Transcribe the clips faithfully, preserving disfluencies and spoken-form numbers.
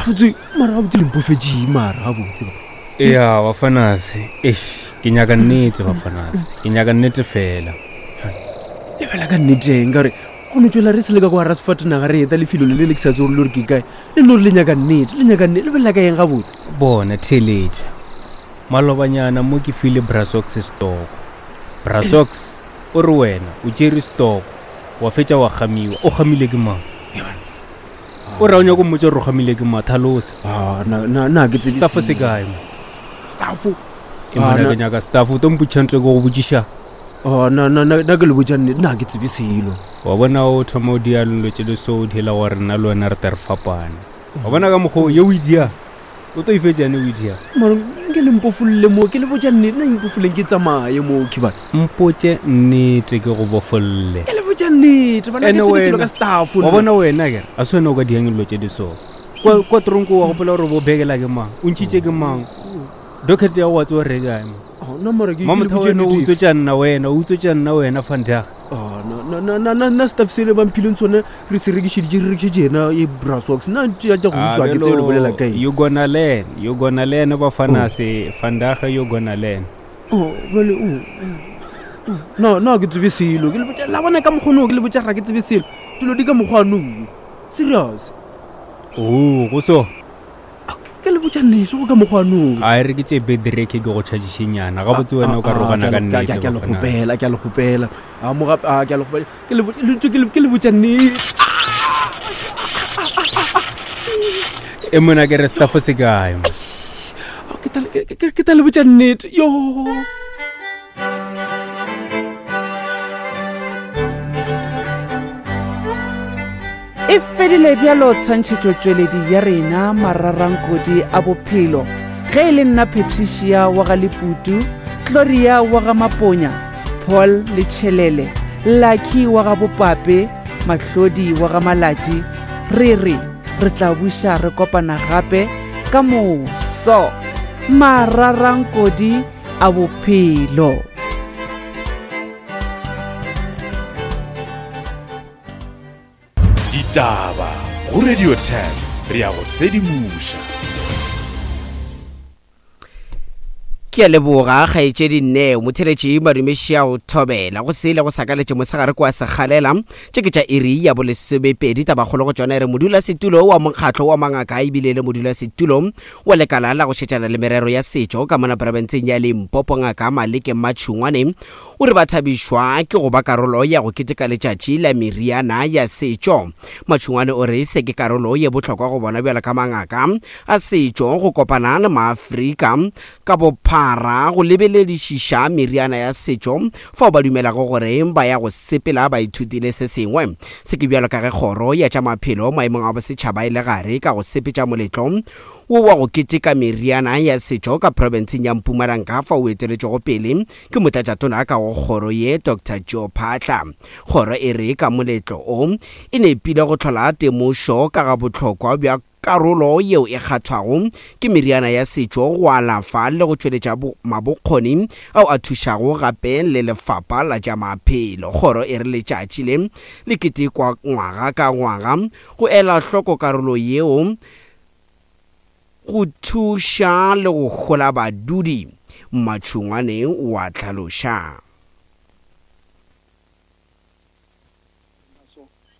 Gabotse mara gabotse le mpofetše mara gabotse. Ya bafanase, eish, ke nyaka nnete bafanase, ke nyaka nnete fela. Lebela ka nnete eng ka gore go no tswela re sele ka kwa rasfatanaga re eta lefelo le le le ke sa tse gore le gore ke kae le no re le nyaka nnete le nyaka nnete lebelela ka eng gabotse. Bona theeletša, malobanyana mo ke file Brasox stoko. Brasox o re wena o tšere stoko wa fetša wa gamiwa. O gamile ke mang? O ra o nyako mmotša gore o gamile ke mang? Thalosa. Ah, na na na ke tsebe Staff se kae mo? Staff. E mona ke nyaka staff o tlo mpotšiša ntho e ke go botšiša. Oh, na na na na ke le botša nnete, na ke tsebe selo. Wa bona o thoma o dia dilo tše di so o diela gore nna le wena re tle re fapane. Wa bona ka mokgwa o ye o e dia, o tlo e fetša yane o e dia. Mara nke le mpofolle mo, ke le botša nnete, nna mpofoleng ke tsamaye mo khibana. Mpotše nnete ke go bofolle. Ke le botša nnete, bana ke Ene tsebe selo wena, ka staff. Wa bona wena ke, a se wena o ka diang dilo tše di so. Kwa, kwa tronko wa gopola gore bo bekela ke mang, o ntšhitše ke mang. Docket ya go wa tseba re kae mo. Oh, nna mara ke- ke le Mamotho botše wena o nnete. utswetša nna wena, o utswetša nna wena Vandag. Ah, na, na, na, na, na staff sele ba mphileng sone re se rekišeditše, re rekišetše yena e Brasox. Nna tša tša go Ah, utswa ke tsebe le bolela ka eng. You gonna learn, you gonna learn bafanase, Vandag you gonna learn. Oh, bjale, oh, oh, oh. Na, na ke tsebe selo, ke le botša, la bona ka mokgono, ke le botša ga ke tsebe selo. Dilo di ka mokgwa nou. Serious. Oh, go so. Ke le botša nnete go ka mokgwa nou. A re ke tše bedreke ke go charge-nyana. Gabotse wena o ka rogana ka nnete. Ke a le kgopela, ke a le kgopela. A mo gape, a ke a le kgopela. Ke le bo-, le ntse ke le, ke le botša nnete. E mona ke re staff se kae mo? Ke tla le-, ke, ke, ke tla le botša nnete. Yo. E fedile bjalo tshwantšhetšotšweledi ya rena mararankodi a bophelo. Ge e le nna Patricia wa ga Leputu, Gloria wa ga Maponya, Paul Letšhelele, Lucky wa ga Bopape, Mahlodi wa ga Malatši, re re re tla buša re kopana gape ka moso. Mararankodi a bophelo. Ditaba go Radio ten re ya go sedimoša. Ke a leboga kgaetšedi Neo motheletši madumeši a go thobela go sele go sakaletše mosegare kwa Sekgalela. Tše ke tša iri ya bolesomepedi. Tabakgolo go tšona e re modulasetulo wa mokgatlo wa mangaka ebile le modulasetulo wa lekala la go šetšana le merero ya setšo ka mona profenseng ya Limpopo ngaka Maleke Matšhungwane o re ba thabišwa ke go ba karolo ya go keteka letšatši la meriana ya setšo. Matšhungwane o re se ke karolo ye bohlokwa go bona bjalo ka mangaka a setšo go kopana le maAfrika ka bophara go lebeledišiša meriana ya setšo fao ba dumelago gore ba ya go sepela ba ithutile se sengwe. Se ke bjalo ka ge kgoro ya tša maphelo maemong a bosetšhaba e le gare ka go sepetša moletlo wo wa go keteka meriana ya setšo ka profenseng ya Mpumalanga fao o eteletšwego pele ke motlatšatona ka go kgoro ye Doctor Joe Phaahla. Kgoro e re ka moletlo o e nepile go hlola temošo ka ga bohlokwa bja karolo yeo e kgathwago ke meriana ya setšo go alafa le go tšweletša mabokgoni ao a thušago gape le lefapha la tša maphelo. Kgoro e re letšatši le le ketekwa ngwaga ka ngwaga go ela hloko karolo yeo go thuša le go hola badudi. Matšhungwane o a hlaloša.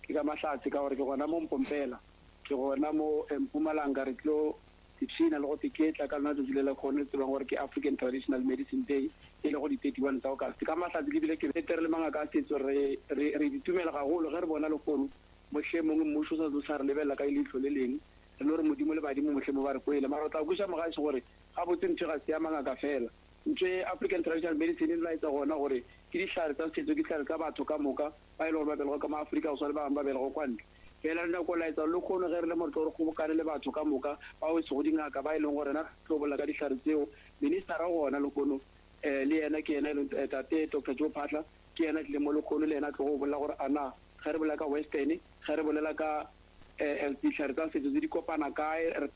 Ke ka mahlatse ka gore ke gona mo Mpompela, ke gona mo Mpumalanga re tlo ipshina le go teketla ka lona letšatši le la kgone tsebang gore ke African Traditional Medicine Day e le go di thirty-one tsa August. Ka mahlatse ke bile ke betere le mangaka a setso re, re, re ditumela gagolo ge re bona lehono mohlomongwe mmušo o sa tlo sa re lebelela ka leihlo le leng, re no re modimo le badimo mohlomongwe ba re kwele. Mara o tla kweša mogaši gore gabotse ntho ga se ya mangaka fela. Ntho e African Traditional Medicine e laetsa gona gore ke dihlare tsa setso, ke dihlare tsa batho ka moka ba e leng gore ba belegwa ka mo Afrika go swana le ba bangwe ba belegwa kwa ntle. Fela re nyako laetsa le kgono ge re le mo re tlo re kgobokane le batho ka moka bao e sego dingaka ba e leng gore rena re tlo bolela ka dihlare tseo. Ministera gona lehono, eh, le yena ke yena e leng, eh, tate Doctor Joe Phaahla ke yena a tlileng mo lehono, le yena a tlo go bolela gore a na ge re bolela ka Western, ge re bolela ka, eh, eh, dihlare tsa setso tse di kopana kae, re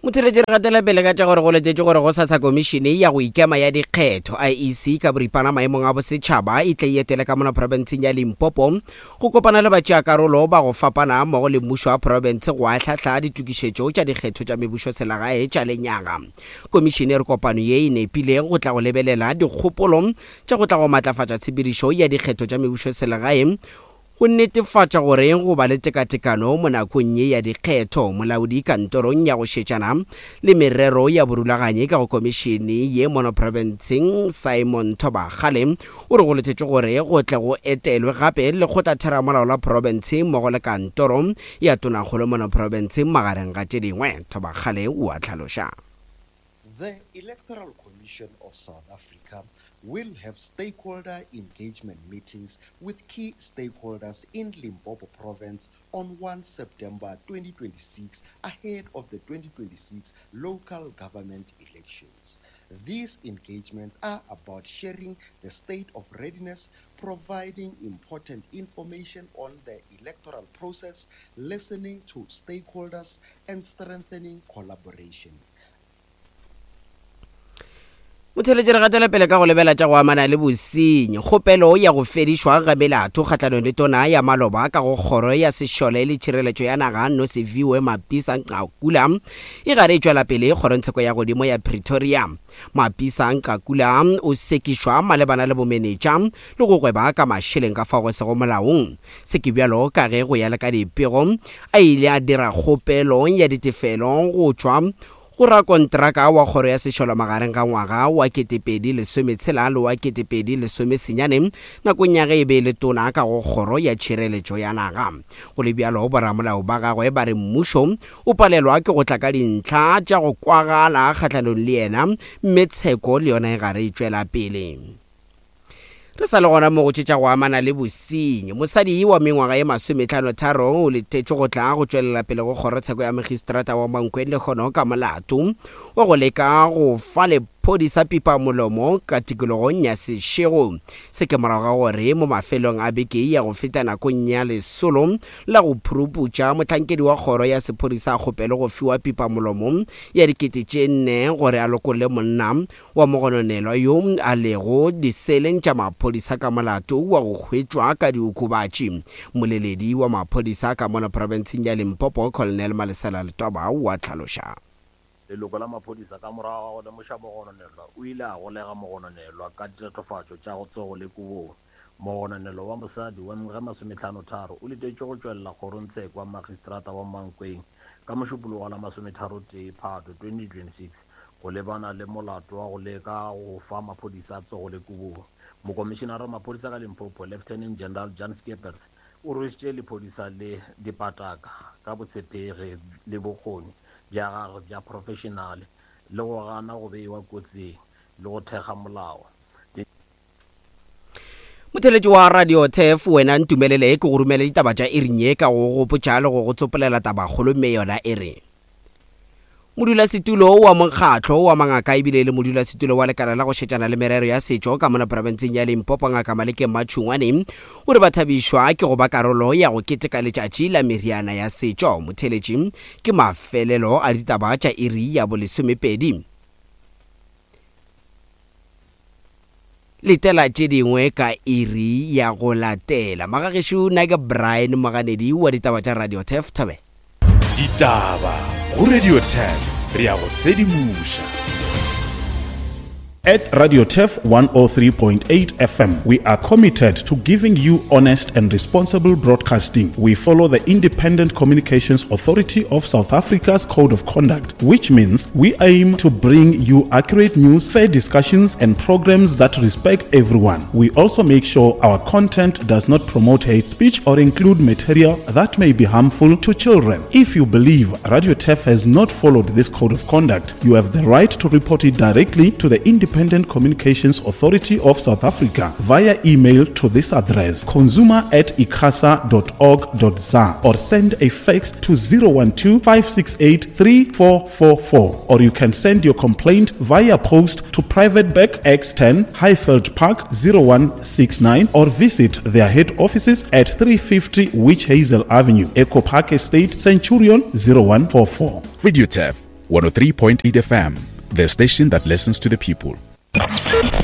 Motheeletši, re gatela pele ka tša gore go letetšwe gore gosasa Komišene ya go Ikema ya Dikgetho, I E C, ka boripana maemong a bosetšhaba e tle e etele ka mona profenseng ya Limpopo go kopana le batšeakarolo ba go fapana mmogo le mmušo wa profense go ahlahla ditokišetšo tša dikgetho tša mebušoselegae tša lenyaga. Komišene e re kopano ye e nepile go tla go lebelela dikgopolo tša go tla go matlafatša tshepedišo ya dikgetho tša mebušoselegae go netefatša gore go ba le tekatekano mo nakong ye ya dikgetho. Molaodi kantorong ya go šetšana le merero ya borulaganyi ka go komišene ye mono profenseng Simon Thobakgale o re go letetšwe gore go tle go etelwe gape lekgotlatheramolao la profense mmogo le kantoro ya tonakgolo mono profenseng magareng ga tše dingwe. Thobakgale o a hlaloša. The Electoral Commission of South Africa will have stakeholder engagement meetings with key stakeholders in Limpopo Province on first September twenty twenty-six ahead of the twenty twenty-six local government elections. These engagements are about sharing the state of readiness, providing important information on the electoral process, listening to stakeholders, and strengthening collaboration. Motheeletši, re gatela pele ka go lebela tša go amana le bosenyi. Kgopelo ya go fedišwa ga melato kgahlanong le tona ya maloba ka go kgoro ya sešole le tšhireletšo ya naga Nosiviwe Mapisa Nqakula e gare e tšwela pele kgorongtsheko ya godimo ya Pretoria. Mapisa Nqakula o sekišwa malebana le bomenetša le go gweba ka mašeleng ka fao go sego molaong. Se ke bjalo ka ge go ya le ka dipego a ile a dira kgopelo ya ditefelo go tšwa go rakontraka wa kgoro ya sešole magareng ga ngwaga wa ketepedi lesometshela le wa ketepedi lesomesenyane nakong ya ge e be e le tona ka go kgoro ya tšhireletšo ya naga. Go le bjalo, boramolao ba gagwe ba re mmušo o palelwa ke go tla ka dintlha tša go kwagala kgahlanong le yena, mme tsheko le yona e gare e tšwela pele. Re sa le gona mo go tše tša go amana le bosenyi. Mosadi wa mengwaga ye masometlhano tharo o letetšwe go tla go tšwelela pele go kgorotsheko ya magistrata wa Mankweng lekgono ka molato wa go leka go fa lephodisa pipa molomo ka tikologong ya Seshego. Se ke morago ga gore mo mafelong a beke ya go feta nakong ya lesolo la go phuruputša mohlankedi wa kgoro ya sephodisa a kgopele go fiwa pipa molomo ya dikete tše nne gore a lokolle monna wa mogononelwa yo a lego diseleng tša maphodisa ka molato wa go hwetšwa ka diokobatši. Moleledi wa maphodisa ka mono profenseng ya Limpopo Colonel Malesela Letwaba wa hlaloša. Leloko la maphodisa ka morago ga go lemoša mogononelwa o ile a golega mogononelwa ka ditatofatšo tša go tsogo le kobong. Mogononelwa wa mosadi wa mengwaga masometlhano tharo o letetšwe go tšwelela kgorongtsheko wa magistrata wa Mankweng ka mošupologo la masometharo tee Phato twenty twenty-six go lebana le molato wa go leka go fa maphodisa tsogo le kobong. Mokomišenara wa maphodisa ka Limpopo Lieutenant General Jan Skeepers o rwešitše lephodisa le dipataka ka botshepegi le bokgoni bja gagwe bja professionale le go gana go beiwa kotsing le go thekga molao. Motheeletši wa Radio T F, wena ntumelele ke go romele ditaba tša iring ye ka go gopotša le go go tsopolela tabakgolo, mme yona e re modulasetulo wa mokgatlo wa mangaka ebile le modulasetulo wa lekala la go šetšana le merero ya setšo ka mona profenseng ya Limpopo Ngaka Maleke Matšhungwane o re ba thabišwa ke go ba karolo ya go keteka letšatši la meriana ya setšo. Motheeletši, ke mafelelo a ditaba tša iri ya bolesomepedi. Letela tše dingwe ka iri ya go latela. Magagešo, nna ke Brian Moganedi wa ditaba tša Radio T F Thabe. Ditaba go Radio T F, re ya go sedimoša. At Radio T F one oh three point eight F M, we are committed to giving you honest and responsible broadcasting. We follow the Independent Communications Authority of South Africa's Code of Conduct, which means we aim to bring you accurate news, fair discussions, and programs that respect everyone. We also make sure our content does not promote hate speech or include material that may be harmful to children. If you believe Radio T F has not followed this Code of Conduct, you have the right to report it directly to the Independent Independent Communications Authority of South Africa via email to this address, consumer at icasa dot org dot za, or send a fax to zero one two, five six eight, three four four four, or you can send your complaint via post to Private Bag X ten, Highveld Park zero one six nine, or visit their head offices at three fifty Witch Hazel Avenue, Echo Park Estate, Centurion zero one four four. Radio T F one oh three point eight F M, the station that listens to the people.